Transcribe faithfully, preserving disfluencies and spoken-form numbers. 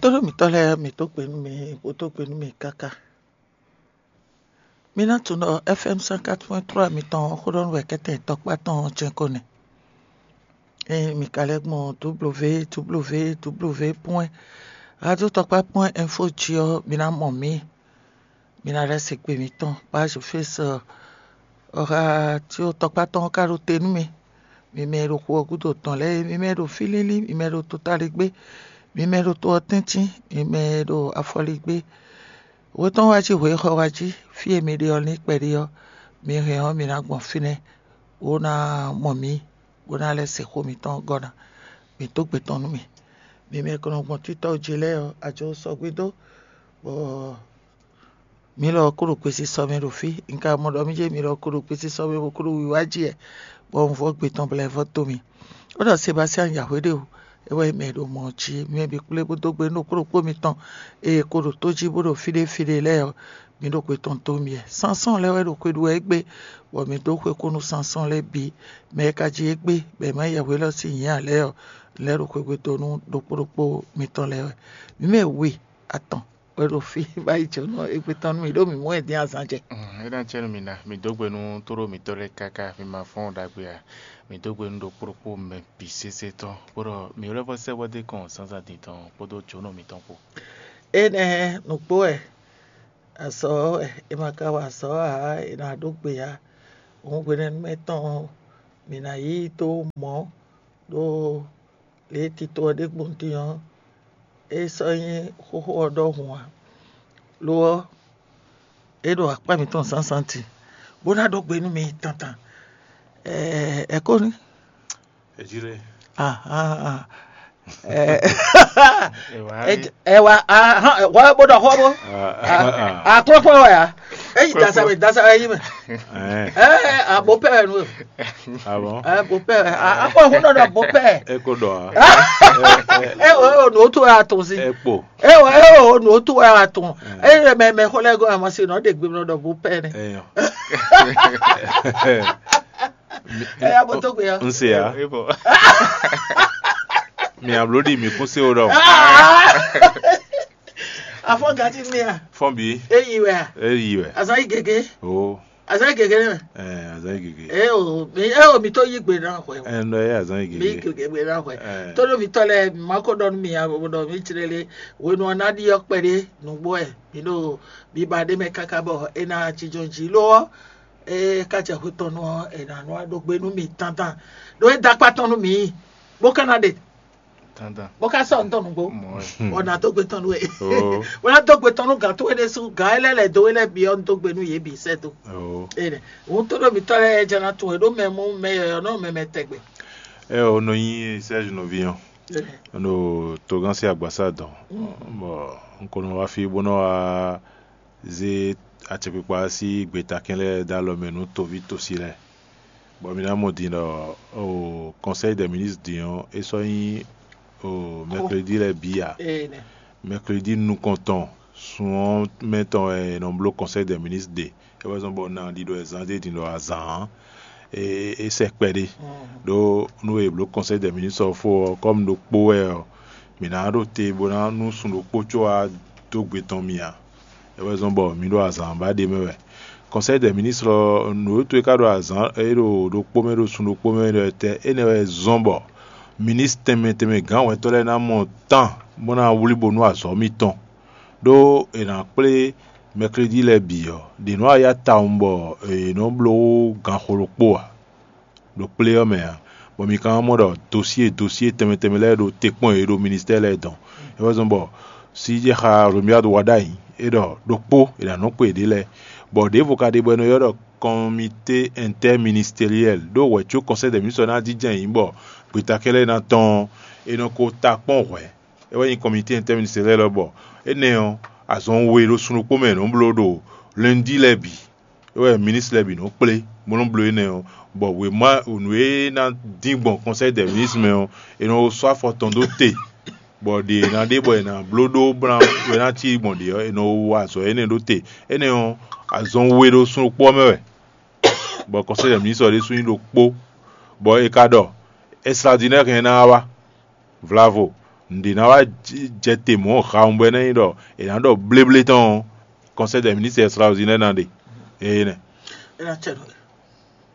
Tónú mǐtɔn lɛ́ɛ, mǐ dó gbe nú mi, bó dó gbe nú mi káká. Mi ná tunwun ɖɔ F M cent quatre point trois mitɔn ɔ́, xó ɖɔ nú wɛ kɛ́tɛn tɔkpá tɔn ɔ́ jɛ́n ko nɛ́. Ée mi ka lɛ́ gbɔn W W W point radio tɔkpá point info jí ɔ́, mi ná mɔ mǐ. Mi ná lɛ́ se gbe mitɔn, page Face ɔ́, radio tɔkpá tɔn ɔ́ ka ɖo te nú mi. Mi mɛ e ɖo xu ɔ́ gúdo tɔn lɛ́ɛ, mi mɛ e ɖo fí línlín, mi mɛ e ɖo totaligbé, mi mɛ e ɖo to ɔ́ tɛ́ntin, mi mɛ e ɖo afɔligbé. Hwe tɔn wá jí, hwe xɔ wá jí, fí e mi ɖe ɔ́, ní kpɛɖé ɔ́, mi hɛn ɔ́, mi ná gbɔn fínɛ́, bó ná mɔ mǐ, bó ná lɛ́ se xó mǐtɔn gɔ́ ná. Mǐ dó gbe tɔn nú mì. Mi mɛ e ko nɔ gbɔn títɔ́ jí lɛ́ɛ ɔ́, ajo sɔgbe dó, bɔ mǐ lɔ ɔ́ kó ɖo gbesisɔ mɛ ɖo fí. Un ka mɔ ɖɔ mì jɛ mi lɔ ko ɖo gbesisɔ mɛ bó kó ɖo wiwa jí wɛ, bɔ un vɔ gbe tɔn bla ɛ vɔ dó mi. Ó ɖɔ Sebastiyani ya hweɖéwu, é wɛ nyí mɛ e ɖo mɔ ɔ́ jí. Mi mɛ bǐ kplé bó dó gbe nú ɖokpó ɖokpó mitɔn e ko ɖo tó jí bó ɖo fí ɖé fí ɖé lɛ́ɛ ɔ́, mi ɖo xwe tɔn dó mi wɛ. Sansɔ́n lɛ́ɛ wɛ ɖo xwe ɖu wɛ égbé, bɔ mi dó xwe kú nú Sansɔ́n lɛ́ɛ bǐ. Mɛ e ka jí égbé, bɔ è ma yɛ hwe élɔ́ sín nyǐ ǎ lɛ́ɛ ɔ́, lɛ́ɛ ɖo xwegbe dó nú ɖokpó ɖokpó mitɔn lɛ́ɛ wɛ. Mǐ mɛ we atɔn wɛ ɖo fí bó yi jǒnɔ égbé tɔn nú mì, ɖó mǐ mɔ ɛ dín azǎn jɛ. Mm, é ná jɛ nú mi ná, mi dó gbe nú tóɖó mǐtɔn lɛ́ɛ káká, mi ma fɔ́n ɖagbe ǎ. Mi dó gbe nú ɖokpó ɖokpó mɛ bǐ sésé tɔn, kpódɔ mi lɛ́ vɔ sɛ́ bɔ dó kɔn zǎnzǎn din tɔn kpódó jǒnɔ mitɔn kpó. Énɛ́ nǔgbó wɛ, azɔ̌ wɛ è ma ka wa azɔ̌ ǎ, è nǎ ɖó gbe ǎ. Hǔn hwenɛ́nu mɛ tɔn ɔ́, mǐ ná yí dó mɔ̌ ɖó lě e tito ɔ́ ɖe gbɔn din ɔ́, é sɔ́ nyí xóxó ɔ́ ɖɔhun ǎ. Lo ɔ́, é ɖo akpá mǐtɔn zǎnzǎn din, bó ná ɖó gbe nú mi tantan. Ɛɛ, ɛ kó ní. È jí lé. Ah, ah, ah. Ɛ, ɛ wá, ah, hɔn, ɛ, hɔn, bó ɖɔ xó bó. Ah, ah, ah. Aklɔ́kpɔ́ wɛ ya. Eyi dasa wɛ, dasa wɛ yi mɛ. Ɛ, ɛ, abo pɛ wɛ nu. Ah bon? Ɛ, bo pɛ wɛ. Ah, akpɔ hun nɔ ɖɔ bo pɛ. Eko ɖɔ a? Ɛ, o, o, nǔ tó wɛ a tɔn si. Ekpo. Ɛ, o, ɛ, o, nǔ tó wɛ a tɔn. Ɛ, mɛ, mɛ xɔ lɛ gɔn a ma se nɔ ɖe gbe nɔ ɖɔ bo pɛ nɛ. Eyɔ. Ɛ, ya bo tó gbe ya. N se ya. Ebo. Mi ablo ɖi mi kún se o ɖɔ. Afɔ gati mi a? Fɔn bi. Eyi wɛ a? Eyi wɛ. Azan yi gege. O. Azan yi gege ne. Ɛ, azan yi gege. E o, mi e o mi tó yí gbe náà xwɛ. Ɛ, nɔ ye azan yi gege. Mi gege gbe náà xwɛ. Ɛ. Tó ɖo mi tɔ lɛ, ma ko ɖɔ nú mi a, bo ɖɔ mi tlɛ lé. Wenu ɔ́ ná ɖi ɔ́ kpɛɖé nǔgbó ɛ. Mi ɖo biba ɖé mɛ káká bɔ é ná jínjɔ́n jí ló ɔ́. E ka jɛ xwe tɔn nú ɔ́, è nǎ nɔ ɖó gbe nú mi tantan. Ɖó é dó akpá tɔn nú mi, bó ka ná ɖe. Tantan. Bó ka sɔ́ ntɔn nǔgbó. Mɔ ɛ. Ɔ nǎ dó gbe tɔn nú we. Bó ná dó gbe tɔn nú gǎn towe ɖésú, gǎn e lɛ́ lɛ̌ dó we lɛ́ɛ bǐ ɔ́, un dó gbe nú yě bǐ sɛ́ dó. Ene, òun tó ɖo mǐtɔn lɛ́ɛ jɛ ná tunwun e ɖó mɛ mú mɛ yɔ̌yɔ́ nɔ mɛ mɛ tɛgbɛ. Ɛ o nɔ nyi Serge nɔví ɔ́. Ene. Ɖo togán sín agbasá dɔn. Bɔ un ko nɔ wá fí bó nɔ wá zé acɛkpikpa sín gbetakɛn lɛ́ɛ dó alɔ mɛ nú toví tosi lɛ́ɛ. Bɔ mi ná mɔ din ɖɔ o Conseil des ministres din ɔ́, é sɔ́ nyí o mercredi lɛ́ɛ bǐ ǎ. Ene. Mercredi nukɔntɔn sun ɔ́ mɛ tɔn wɛ è nɔ bló Conseil des ministres ɖe. É wɛ zɔ́n bɔ un ná ɖiɖɔ ɛ zán dó din ɖɔ azǎn ɔ́, é é sɛ kpɛɖé. Ɖó nú è blǒ Conseil des ministres ɔ́ fó ɔ́, kɔ́mu ɖokpó wɛ ɔ́, mǐ ná ɖo te bó ná nú sun ɖokpó có wá dó gbe tɔn mì ǎ. É wɛ zɔ́n bɔ mǐ ɖo azǎn ba ɖé mɛ wɛ. Conseil des ministres ɔ́, nǔ e to e ka ɖo azǎn e ɖo ɖokpó mɛ ɖo sun ɖokpó mɛ ɖɔ tɛ́ énɛ́ wɛ zɔ́n bɔ ministre tɛnmɛ tɛnmɛ gǎn wɛntɔ́ lɛ́ɛ ná mɔ tán bó ná wlí bo nú azɔ̌ mitɔn. Ɖó è nǎ kplé mɛklídí lɛ́ɛ bǐ ɔ́, ɖě nɔ́ wá yá tawun bɔ è nɔ́ bló ganxo ɖokpó ǎ. Ɖo kplé ɔ́ mɛ ǎ, bɔ mi ka wá mɔ ɖɔ dosié dosié tɛnmɛ tɛnmɛ lɛ́ɛ ɖo te kpɔ́n yě ɖo ministɛ́ɛ lɛ́ɛ dɔn. É wɛ zɔ́n bɔ síjɛxá Romuald Wadagni é ɖɔ ɖokpó è nǎ nɔ kpo yěɖée lɛ́ɛ, bɔ ɖěvo ka ɖe bɔ è nɔ ylɔ́ ɖɔ kɔmité ɛntɛ́ministériɛl ɖó hwɛ̌ có kɔnsɛ́ dɛ mǐ sɔ ná jínjɔ́n ayǐ bɔ gbetakɛ́ lɛ́ɛ ná tɔ́n ɔ́, è nɔ ko ta kpɔ́n hwɛ̌. É wɛ nyí kɔmité ɛntɛ́ministériɛl ɔ́ bɔ énɛ́ ɔ́, azɔn we ɖo sun ɖokpó mɛ è nɔ bló ɖo lɛ́ndí lɛ́ɛ bǐ. É wɛ minisitiri lɛ́ɛ bǐ nɔ kplé bó nɔ́ bló énɛ́ ɔ́, bɔ wěma nǔ e ná dín gbɔn kɔnsɛ́yi dɛ minisitiri mɛ ɔ́, è nɔ sɔ́ afɔ tɔn dó te, bɔ ɖě è nǎ ɖe bɔ è nǎ bló ɖó bó ná wɛ ná cí gbɔn ɖě ɔ́, è nɔ wa azɔ̌ énɛ́ ɖó te. Énɛ́ ɔ́, azɔn we ɖo sun ɖokpó ɔ́ mɛ wɛ, bɔ kɔnsɛ́yi dɛ minisitiri ɔ́ ɖésú nyí ɖokpó, bɔ è ka ɖɔ Ɛstradinɛ́ hɛn ná wá. Vlavo. nǔɖé ná wá jɛ te mɔ̌ hawun bɔ é ná nyí ɖɔ è nǎ ɖɔ bléblé tɔn ɔ́, Conseil des ministres extraordinaire ná ɖe. Énɛ́.